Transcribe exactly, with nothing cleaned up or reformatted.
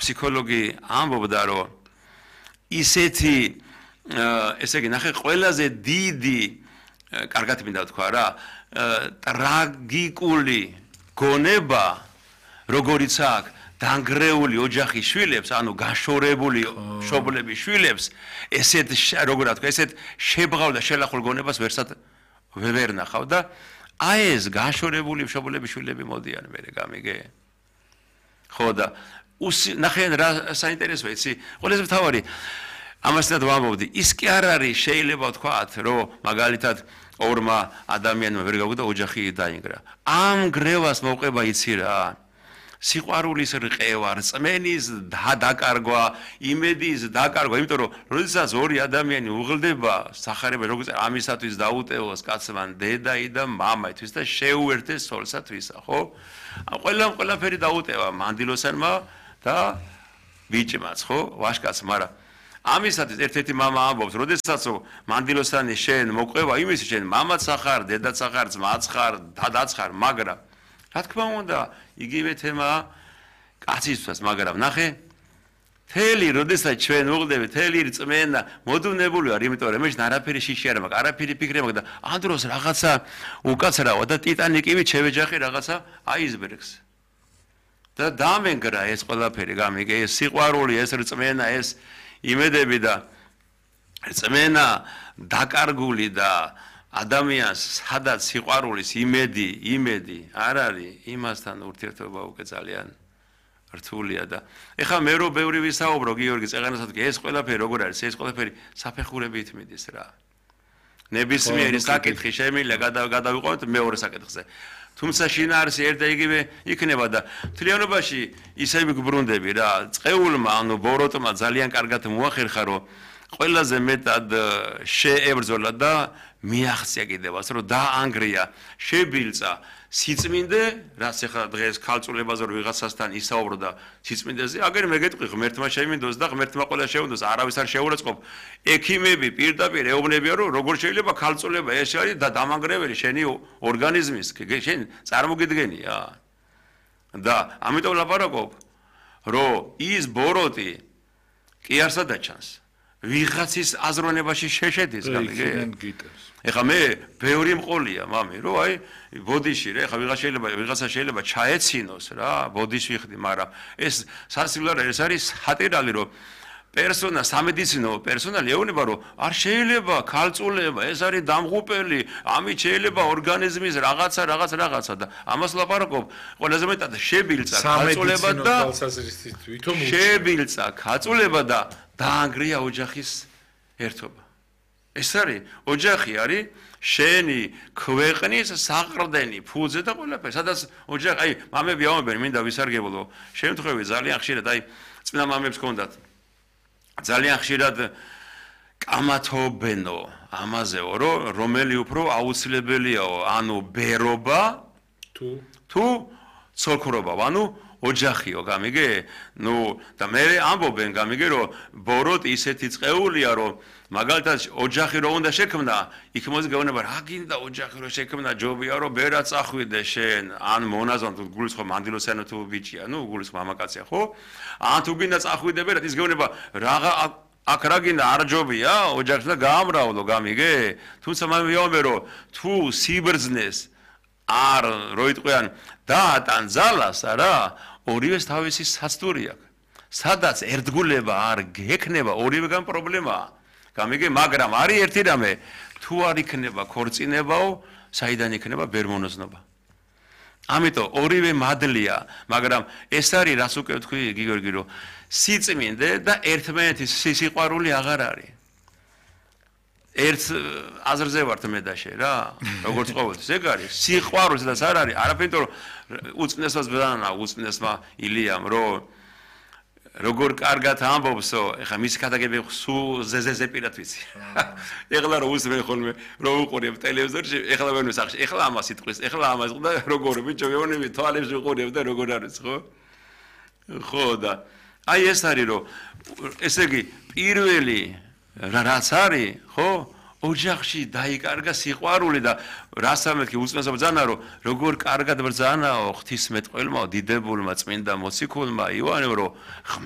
ფსიქოლოგი ამბობდა რომ ისეთი ესე იგი ნახე ყველაზე დიდი კარგად მინდა თქვა რა ტრაგიკული გონება როგორიც აქვს დანგრეული ოჯახის შვილებს, ანუ გაშორებული მშობლების შვილებს, ესეთ როგორ თქვა, ესეთ შებღავ და შელახულ გონებას ვერსად ვერ ნახავ და აი ეს გაშორებული მშობლების შვილები მოდიან მერე გამიგე. ხო და ნახე რა საინტერესოა იცი, ყველაზე მთავარი ამასთან ვამბობდი, ის კი არ არის შეიძლება ვთქვათ, რომ მაგალითად ორმა ადამიანმა ვერ გაგვდა ოჯახი დაინგრა. ამ გრევას მოყვება იცი რა. სიყვარულის რყევა, რწმენის დაკარგვა, იმედის დაკარგვა, იმიტომ რომ როდესაც ორი ადამიანი უღლდება სახარება როგორც ამისათვის დაუტევოს კაცმა დედაი და მამაისთვის და შეუერთეს სოლსათვისა, ხო? ყველამ ყველაფერი დაუტევა მანდილოსანმა და ბიჭმაც, ხო? ვაშკაც, მაგრამ ამისათვის ერთ-ერთი მამა ამბობს, როდესაც მანდილოსანი შენ მოყვება, იმის შენ მამაც ახარ, დედაც ახარ, ძმაც ხარ, დადაც ხარ, მაგრამ რა თქმა უნდა, იგივე თემაა კაცისთვის, მაგრამ ნახე, თელი, როდესაც ჩვენ უღლდებით, თელი რწმენა მოდუნებული ვარ, იმიტომ რომ მე არაფერი შიში არ მაქვს, არაფერი ფიქრი მაქვს და ამ დროს რაღაცა უკაცრავა და ტიტანიკივით შევეჯახე რაღაცა აისბერგს. და დამენგრა ეს ყველაფერი, გამიგე, ეს სიყვარული, ეს რწმენა, ეს იმედები და რწმენა დაკარგული და ადამიანს სადაც სიყვარულის იმედი, იმედი არ არის, იმასთან ურთიერთობა უკვე ძალიან რთულია და ეხლა მე რო ბევრი ვისაუბრო გიორგი წეღანასთან ეს ყველაფერი როგორ არის, ეს ყველაფერი საფეხურებით მიდის რა. ნებისმიერი საკითხი შემიძლია გადავიყვანოთ მეორე საკითხზე. თუმცა შინაარსი ერთ და იგივე იქნება და მთლიანობაში ისე ვიბრუნდები რა, წყეულმა, ანუ ბოროტმა ძალიან კარგად მოახერხა რომ ყველაზე მეტად შეებრძოლა და მიაღწია კიდევაც რომ დაანგრია შებილწა სიწმინდე რაც ახლა დღეს ქალწულებაზე რომ ვიღაცასთან ისაუბრდა სიწმინდეზე აგერ მე გეტყვი ღმერთმა შემინდოს და ღმერთმა ყველა შეუნდოს არავის არ შეურაცხყოფ ექიმები პირდაპირ ეუბნებიან რომ როგორ შეიძლება ქალწულება ეს არის და დამანგრეველი შენი ორგანიზმის შენ წარმოგიდგენია და ამიტომ ლაპარაკობ რომ ის ბოროტი კი არ სადაჩანს ვიღაცის აზროვნებაში შეშედის გამიგე ეხლა მე ბევრი მყოლია მამი რომ აი ბოდიში რა ეხლა ვიღაც შეიძლება ვიღაცა შეიძლება ჩაეცინოს რა ბოდიში ვიხდი მაგრამ ეს სასივლარ ეს არის სატირალი რომ პერსონა სამედიცინო პერსონალი ეუბნება რომ არ შეიძლება ქალწულება ეს არის დამღუპელი ამით შეიძლება ორგანიზმის რაღაცა რაღაც რაღაცა და ამას ლაპარაკობ ყველაზე მეტად შებილწა ქალწულება და შებილწა ქალწულება და დაანგრია ოჯახის ერთობა ეს არის ოჯახი არის შენი ქვეყნის საყრდენი ფუძე და ყველაფერი სადაც ოჯახი აი მამები ამბობენ მინდა ვისარგებლო შემთხვევით ძალიან ხშირად აი წინა მამებს ჰქონდათ ძალიან ხშირად კამათობენო ამაზეო რომ რომელი უფრო აუცილებელიაო ანუ ბერობა თუ თუ ცოლქრობა ანუ ოჯახიო გამიგე ნუ და მე ამბობენ გამიგე რომ ბოროტი ისეთი წყეულია რომ მაგალითად ოჯახი რო უნდა შექმნა იქ მოგეუბნება რა გინდა ოჯახი რო შექმნა ჯობია რომ ბერა წახვიდე შენ ან მონაზონ თუ გულისხმობ მანდილოსანო თუ ბიჭია ნუ გულისხმობ მამაკაცია ხო ან თუ გინდა წახვიდე ბერა ის გეუბნება რაღა აქ რა გინდა არ ჯობია ოჯახს და გაამრავლო გამიგე თუმცა მე ვიომე რომ თუ სიბრძნეს არ რო იტყვიან დაატან ძალას არა ორივეს თავისი საცდური აქვს სადაც ერთგულება არ გექნება ორივეგან პრობლემაა გამიგე მაგრამ არის ერთი რამე თუ არ იქნება ქორწინებაო საიდან იქნება ბერმონოზნობა ამიტომ ორივე მადლია მაგრამ ეს არის რას უკვე ვთქვი გიორგი რომ სიწმინდე და ერთმანეთის სიყვარული აღარ არის ერთ აზრზე ვართ მე და შე რა როგორც ყოველთვის ეგ არის სიყვარულიც და არ არის არაფერი რომ უწნესვას ბრძანა უწნესმა ილიამ რომ როგორ კარგად ამბობსო ეხა მის ქადაგები სულ ზეზეზე პირად ვიცი ეხლა რომ უსმენ ხოლმე რომ უყურებ ტელევიზორში ეხლა ვერ ვისახში ეხლა ამას იტყვის ეხლა ამას და როგორ ბიჭო მეუბნები თვალებს ვიყურებ და როგორ არის ხო ხო და აი ეს არის რომ ესე იგი პირველი რაც არის ხო ოჯახში დაიკარგა სიყვარული და რასამეთქი უწმესო ბრძანა რომ როგორ კარგად ბრძანაო ღვთისმეტყველმაო დიდებულმა წმინდა მოციქულმა იოანემ რომ